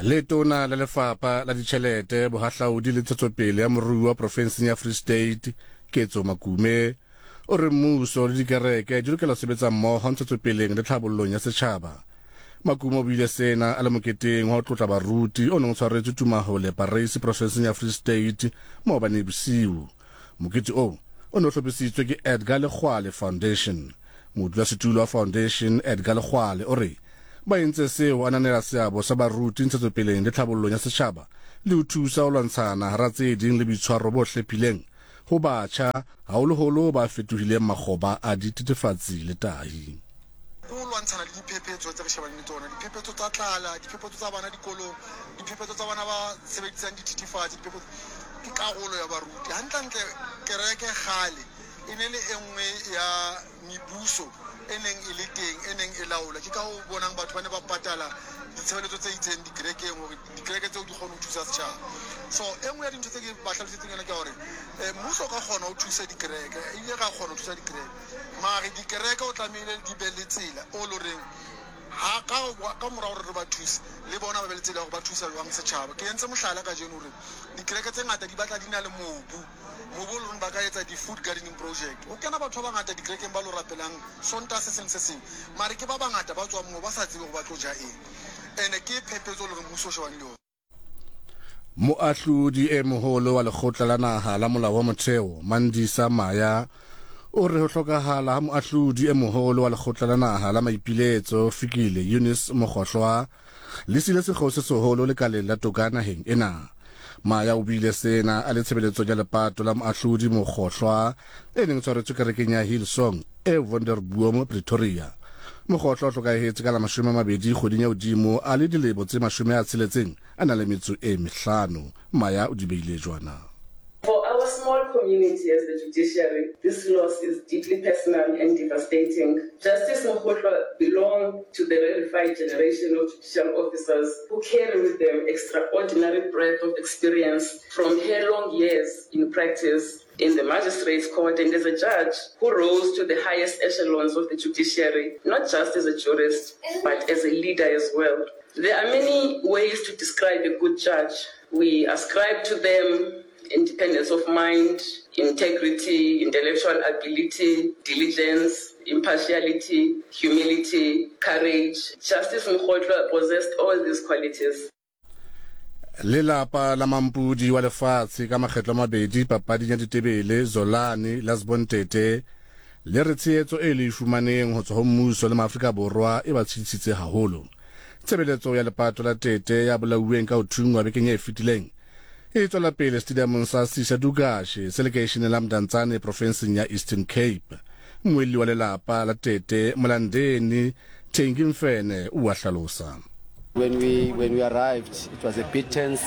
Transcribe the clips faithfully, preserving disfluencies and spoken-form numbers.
Letona la Lefapha la Ditjhelete, Bohahlaudi le Ntshetsopele ya Moruo wa Profenseng ya Free State, Ketso Makume, o re mmuso le dikereke di lokela ho sebetsa mmoho ntshetsopeleng le tlhabollong ya setjhaba. Makume o buile sena a le moketeng wa ho tlotla baruti o neng o tshwaretswe Tumahole Pareisi profenseng ya Free State maobane bosiu. Mokete oo o ne o hlophisitswe ke Edgar Lekgoale Foundation. Modulasetulo wa foundation Edgar Lekgoale o re ba entse seo ho ananela seabo sa baruti ntshetsopeleng le tlhabollong ya setjhaba le ho thusa ho lwantshana hara tse ding le boitshwaro bo hlephileng ho batjha, haholoholo ba fetohileng makgoba a dithethefatsi le tahi. Ke ho lwantshana le diphephetso tse re shebaneng le tsona, diphephetso tsa tlala, diphephetso tsa bana dikolong, diphephetso tsa bana ba sebedisang dithethefatsi, diphephetso ke karolo ya baruti. Hantlentle kereke kgale e ne le e nngwe ya mebuso e neng e le teng, e neng e laola. Ke ka ho bonang batho ba ne ba patala ditshebeletso tse itseng dikerekeng hore dikereke tseo di kgone ho thusa setjhaba. So e nngwe ya dintho tse ke ba hlalositseng yona ke hore eh, mmuso o ka kgona ho thusa dikereke, ebile ra kgona ho thusa dikereke, mare dikereke o tlamehile di be le tsela o lo reng ha ka ka mora hore re ba thuse le bona ba be le tsela ya hore ba thusa jwang setjhaba. Ke entse mohlala kajeno hore dikereke tse ngata di batla di na le mobu, mobu o leng ba ka etsa di-food gardening project. Ho kena batho ba bangata dikerekeng ba lo rapelang Sontaha se seng se seng, mare ke ba bangata ba tswang moo ba sa tsebe hore ba tlo ja eng. Ene ke phephetso e leng hore mmuso o shebane le yona. Moahlodi e moholo wa Lekgotla la Naha la Molao wa Motheo, Mandisa Maya, o re ho hlokahala ha moahlodi e moholo wa Lekgotla la Naha la Maipiletso, Fikile Eunice Mogohloa, le siile sekgeo se seholo lekaleng la toka naheng ena. Maya o buile sena a le tshebeletsong ya lepato la moahlodi Mogohloa e neng e tshwaretswe kerekeng ya Hillsong e Wonderboom, Pretoria. Mogohloa o hlokahetse ka la mashome a mabedi kgweding ya hodimo a le dilemo tse mashome a tsheletseng a na le metso e mehlano. Maya o di beile jwana. For our small community as the judiciary, this loss is deeply personal and devastating. Justice Mogohloa belonged to the rarefied generation of judicial officers who carry with them extraordinary breadth of experience from her long years in practice in the magistrates' court and as a judge who rose to the highest echelons of the judiciary, not just as a jurist, but as a leader as well. There are many ways to describe a good judge. We ascribe to them independence of mind, integrity, intellectual ability, diligence, impartiality, humility, courage. Justice Mogohloa possessed all these qualities. Lelapa la mampudi wa lefatshe ka makgetlo a mabedi papading ya ditebele Zolani Lasbon Tete le re tshehetso e le e fumaneng ho tswa ho mmuso le Maafrika Borwa e ba tshedisitse haholo. Tshebeletso ya lepato la Tete ya bolauweng ka ho thungwa bekeng e fetileng e tswela pele stadiumong sa Sisa Dukashe se lekeisheneng la Mdantsane profenseng ya Eastern Cape. Mmuelli wa lelapa la Tete Molandeni Thengi Mfene o a hlalosa. When we, when we arrived, it was a bit tense,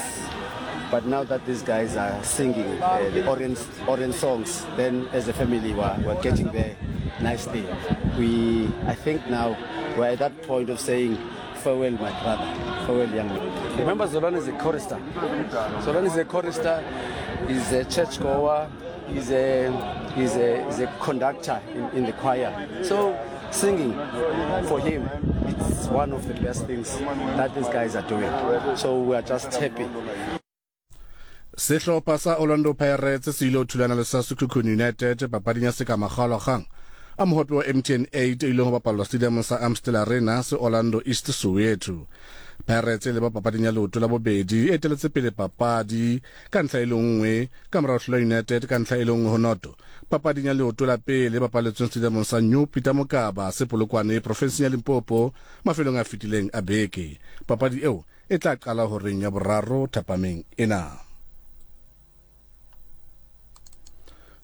but now that these guys are singing, uh, the Orient, Orient songs, then as a family we're, we're getting there nicely. We, I think now we're at that point of saying, farewell, my brother, farewell, young man. Remember, Zolani is a chorister. Zolani is a chorister, he's a churchgoer, he's a, he's a, he's a conductor in, in the choir. So singing for him, it's one of the best things that these guys are doing. So we are just happy. Sehlopha sa Orlando Pirates se ile ho thulana le sa Sekhukhune United papading ya sekamakgaolakgang a mohope wa M T N eight e ileng ho bapallwa stadiumong sa Amstel Arena se Orlando East Soweto. Pirates e leba papading ya leoto la bobedi e eteletse pele papadi ka ntlha e le nngwe ka morao hlola United ka ntlha e le nngwe ho noto. Papading ya leoto la pele e bapaletsweng stadiumong sa New Peter Mokaba se Polokwane profenseng ya Limpopo mafelong a fetileng a beke. Papadi eo e tla qala horeng ya boraro thapameng ena.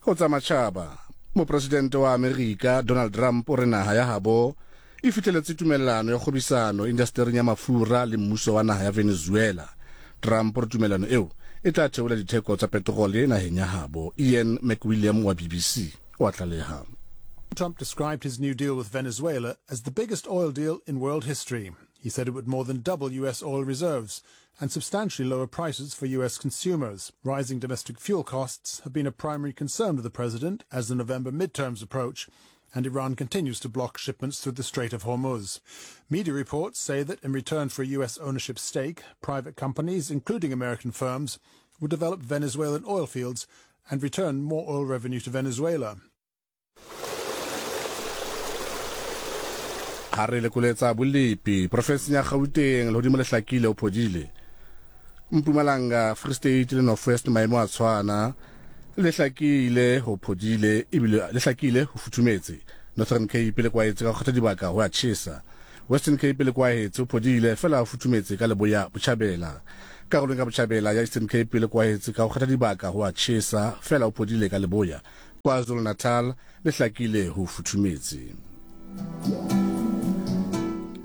Ho tsa matjhaba, mopresidente wa Amerika Donald Trump o re naha ya habo e fihleletse tumellano ya kgwebisano indastering ya mafura le mmuso wa naha ya Venezuela. Trump o re tumellano eo e tla theola ditheko tsa petrole naheng ya habo. Ian McWilliam wa B B C o a tlaleha. Trump described his new deal with Venezuela as the biggest oil deal in world history. He said it would more than double U S oil reserves and substantially lower prices for U S consumers. Rising domestic fuel costs have been a primary concern of the president as the November midterms approach, and Iran continues to block shipments through the Strait of Hormuz. Media reports say that in return for a U S ownership stake, private companies, including American firms, will develop Venezuelan oil fields and return more oil revenue to Venezuela. Ha re lekoletsa bolepi profenseng ya Gauteng lehodimo le hlakile o phodile. Mpumalanga, Free State le North West maemo a tshwana, le hlakile ho phodile ebile le hlakile ho futhumetse. Northern Cape le kwaetse ka kgotha dibaka ho a tjhesa. Western Cape le kwaetse ho phodile fela ho futhumetse ka leboya botjhabela. Karolong ka botjhabela ya Eastern Cape le kwaetse ka kgotha dibaka ho a tjhesa fela ho phodile ka leboya. KwaZulu-Natal le hlakile ho futhumetse.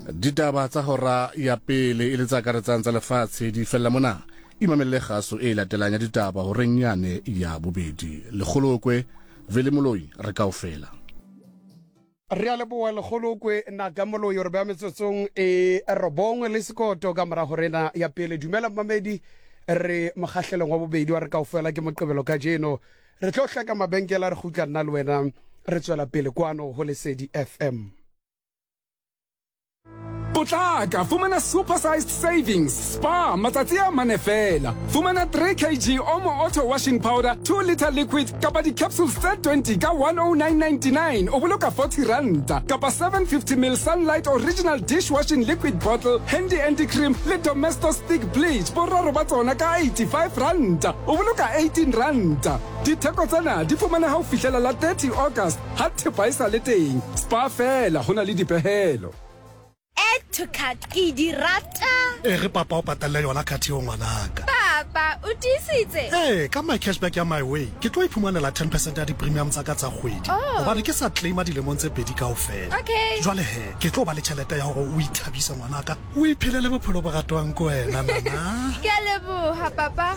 Ditaba tsa hora ya pele e le tsa karetsang tsa lefatshe di fella mona. Imamelle kgaso e latelang ya ditaba horeng yane ya bobedi. Lekgolokwe Vele Moloi re kaofela. Re a leboha Lekgolokwe Naka Moloi re ba metsotsong e robongwe le sekoto ka mora horena ya pele. Dumela mmamedi, re mokgahlelong wa bobedi wa re kaofela ke Moqebelo kajeno. Re tlo hlaka mabenkele, re kgutla nna le wena re tswela pele kwano ho Lesedi F M. Potlaka, fumana supersized savings. Spa, matsatsi a mane fela. Fumana three kilograms Omo Auto Washing Powder, two liter liquid, kapa di-capsules tse twenty ka one oh nine ninety-nine, o boloka forty ranta. Kapa seven fifty mil Sunlight Original Dishwashing Liquid Bottle, Handy Anti-Cream le Domestos Stick Bleach, boraro ba tsona ka eighty-five ranta, o boloka eighteen ranta. Ditheko tsena di fumaneha ho fihlela la thirty August, ha thepa e sa le teng. Spa fela, ho na le dipehelo. Add to cart ke di rata. E re papa o patale yona card eo ngwanaka. Papa o tiisitse? Eh, ka my cashback ya my way ke tlo iphumanela ten percent ya di-premium tsa ka tsa kgwedi. Hobane ke sa claima dilemong tse pedi kaofela. Okay. Jwale he, ke tlo ba le tjhelete ya hore o ithabise ngwanaka, o iphelele bophelo bo ratwang ke wena nana. Ke a leboha papa.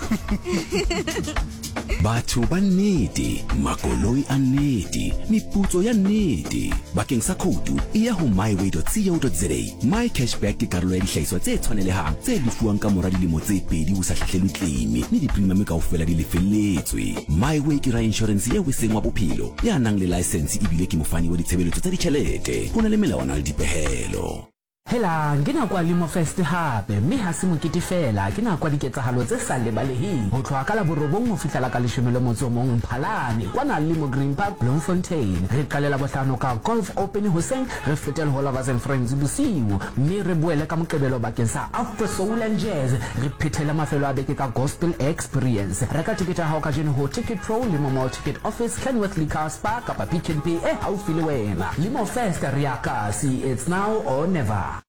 Batho ba nnete, makoloi a nnete, meputso ya nnete. Bakeng sa khoutu e ya ho myway dot co dot za. My cashback ke karolo ya dihlahiswa tse tshwanelehang tse lefuwang ka mora dilemo tse pedi ho sa hlahlelwe claim, mme di-premium kaofela di lefelletswe. MyWay ke ra insurance eo e seng wa bophelo, ya nang le license ebile ke mofani wa ditshebeletso tsa ditjhelete. Ho na le melawana le dipehelo. Helang, ke nako ya Limo Fest hape, mme ha se mokete fela, ke nako ya diketsahalo tse sa lebaleheng. Ho tloha ka la borobong ho fihlela ka leshome le motso o mong Mphalane, kwana Limo Green Park, Bloemfontein. Re qalela bohlano ka Golf Open hoseng, re fetele ho Lovers and Friends bosiu, mme re boele ka Moqebelo bakeng sa Afro Soul and Jazz. Re phethele mafelo a beke ka Gospel Experience. Reka tikete ya hao kajeno ho Ticket Pro, Limo Mall Ticket Office, Kenworth Liquor Spa kapa Pick n Pay e haufi le wena. Limo Fest re ya kasi, it's now or never.